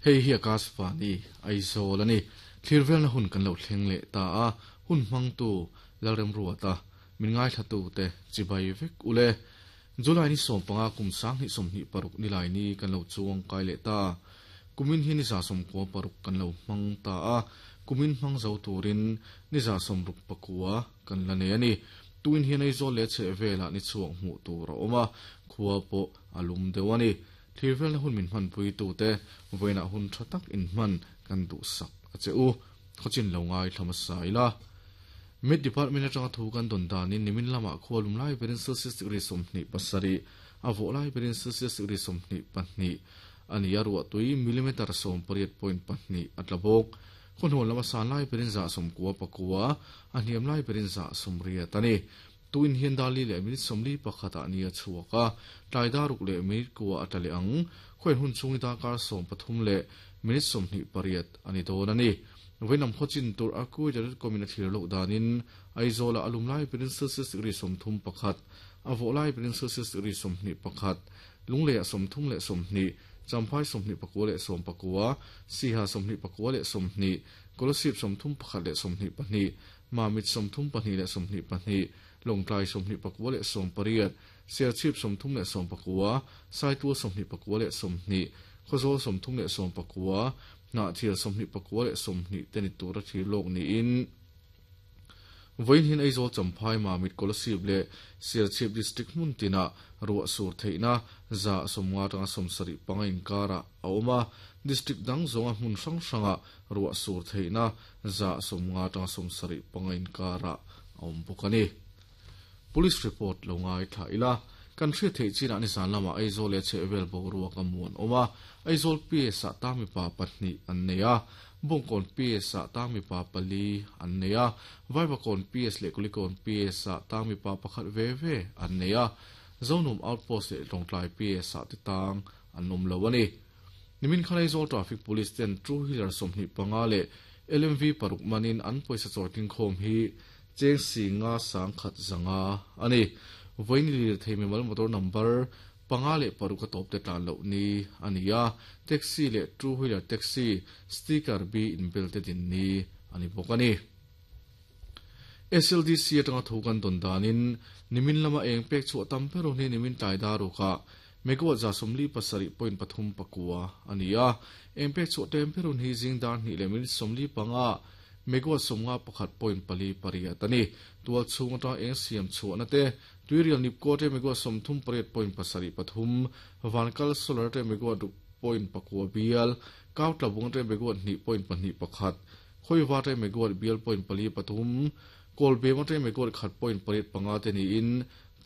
Hei hi Akashvani, Aizawl a ni. Thlir velna hun kan lo thleng leh ta a, hun hmangtu Lalremruata, min ngaithlatute chibai vek ule. July ni 15 kum 2026 nilai ni kan lo chuang kai leh ta. Kumin hi ni 96 kan lo hmang ta a, kumin hmang zo turin ni 69 kan la nei a ni. Tuin hian Aizawl leh chhehvelah ni chhuak hmuh tur a awm a, khua pawh a lum deuh a ni. Thlir velna hun min hmanpui tute vawiinah hun tha tak inhman kan duhsak a che u. Khawchin lo ngaithla hmasa ila. Met Department atanga thu kan dawn danin nimin lamah khua lum lai berin Celsius degree 27, a vawh lai berin Celsius degree 22 a ni a, ruahtui millimeter 18.2 a tla bawk. Khawhnuan lama san lai berin 99, a hniam lai berin 80 a ni. Tuin hian dar li leh minute 41 ah ni a chhuak a, tlai dar ruk leh minute kua a tla leh ang. Khawian hun chhung hi darkar 13 leh minute 28 a ni dawn a ni. Vawiinam khawchin tur a Kuwait.com in a thlir loh danin Aizawl ah a lum lai berin Celsius degree 31, a vawh lai berin Celsius degree 21, Lunglei ah 30 leh 20, Champhai 29 leh 19, Siha 29 leh 20, Kolasib 31 leh 22, Mamit 32 leh 22, Lawngtlai 29 leh 18, Serchhip 39, Saitual 29 leh 20, Khawzawl 39, Hnahthial 29 leh 20 te ni tura thlir lawk niin Vawiin hian Aizawl Champhai Mamit Kolasib leh Serchhip District hmun tinah ruah sur theihna 50 atanga 75 inkarah a awm a, District dang zawnga hmun hrang hrangah ruah sur theihna 50 atanga 75 inkarah a awm bawk a ni. Police report lo ngaithla ila, kan hriat theih chinah nizan lamah Aizawl leh chhehvel boruak a muan awm a, Aizawl PS ah tang mipa pahnih an nei a, Bawngkawn PS ah tang mipa pali an nei a, Vaivakawn PS leh Kulikawn PS ah tang mipa pakhat ve ve an nei a, Zonum Outpost leh Lawngtlai PS ah te tang an awm lo a ni. Nimin khan Aizawl Traffic Police ten two wheeler 25 leh LMV paruk manin an pawisa chawi tlingkhawm hi cheng si nga sang khat zanga a ni. Vawiin lirthei mimal motor number panga leh paruk a tawp te tlan loh ni a ni a, taxi leh two wheeler taxi sticker B inbel te din ni a ni bawk a ni. SLDC atanga thu kan dawn danin nimin lama eng pek chhuah tam ber hun hi nimin tlai darukah megawatt 57.39 a ni a, eng pek chhuah tlem ber hun hi zing dar hnih leh minute 45 megawatt 51.48 a ni. Tual chhung atanga eng siam chhuahna te tuirial nipko te megawatt 38.73, vankal solar te megawatt ruk point pakua bial, kau tlabung te megawatt 2.21, Khawiva te megawatt bial point pali pathum, Kawlbem atangin megawatt khat point pariat panga te niin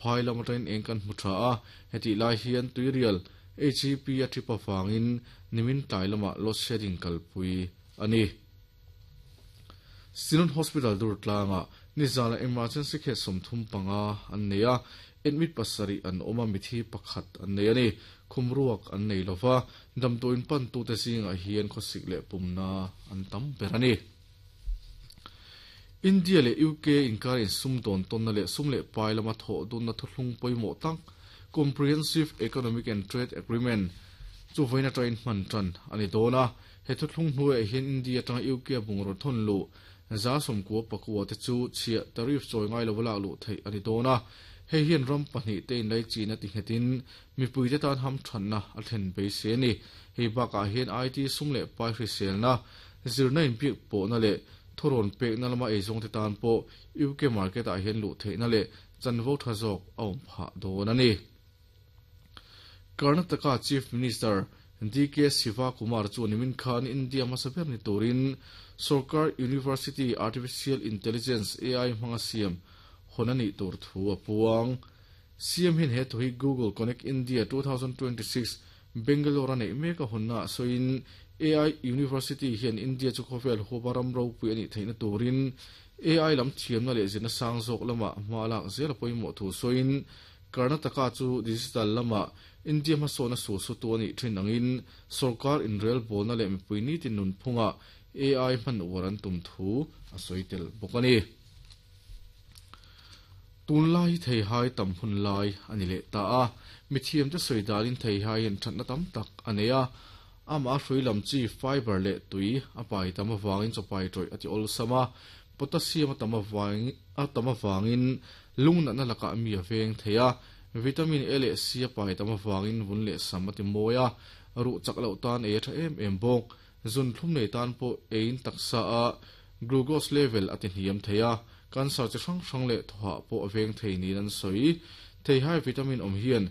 phai lam atangin eng kan hmu tha a, hetih lai hian tuirial HEP a trip avangin nimin tlai lamah load shedding kalpui a ni. Synod Hospital Durtlangah nizana emergency case 35 an nei a, admit pasarih an awm a, mithi pakhat an nei a ni. Khumruak an nei lova, damdawiin pantute zingah hian khawsik leh pumna an tam ber a ni. India leh UK inkar insum dawn tawnna leh sum leh pai lama thawh dunna thuthlung pawimawh tak Comprehensive Economic and Trade Agreement chu vawiin atangin hman tan a ni dawn a. He thuthlung hnuaiah hian India atanga UK a bungraw thawn luh 99 te chu chhiah tariff chawi ngai lova lak luh theih a ni dawn a. Hei hian ram pahnih te inlai chin a ti nghetin mipuite tan ham thatna a thlen beisei a ni. Hei bakah hian IT sum leh pai hriselna, zirna inbiak pawhna leh thurawn pekna lama eizawngte tan pawh UK market ah hian luh theihna leh chanvo tha zawk a awm phah dawn a ni. Karnataka Chief Minister DK Shivakumar chu nimin khan India hmasa ber ni turin Sarkar University Artificial Intelligence AI hmanga siam hawn a nih tur thu a puang. CM hian he thu hi Google Connect India 2026 Bangalore a neih mek a hawnna ah sawiin AI University hian India chu khawvel huapa ram ropui a nih theihna turin AI lam thiamna leh zirna sang zawk lamah hma lak zel a pawimawh thu sawiin Karnataka chu digital lamah India hmasawhna su su tu a nih thin angin sorkar inrel bawlna leh mipui nitin nunphungah AI hman uar an tum thu a sawi tel bawk a ni. Tunlai hi theihai tam hun lai a ni leh ta a, mithiamte sawi danin theihai hian thatna tam tak a nei a. Amah a hrui lam chi fiber leh tui a pai tam avangin chaw pai tawih a ti awlsam a, potassium a tam avangin a tam avangin lung natna lakah mi a veng thei a, vitamin A leh C a pai tam avangin vun leh sam a ti mawi a, ruh chak loh tan ei a tha em em bawk. Zun thlum nei tan pawh eiin taksa a glucose level a ti hniam thei a, cancer chi hrang hrang leh thawhah pawh a veng thei niin an sawi. Theihai vitamin awm hian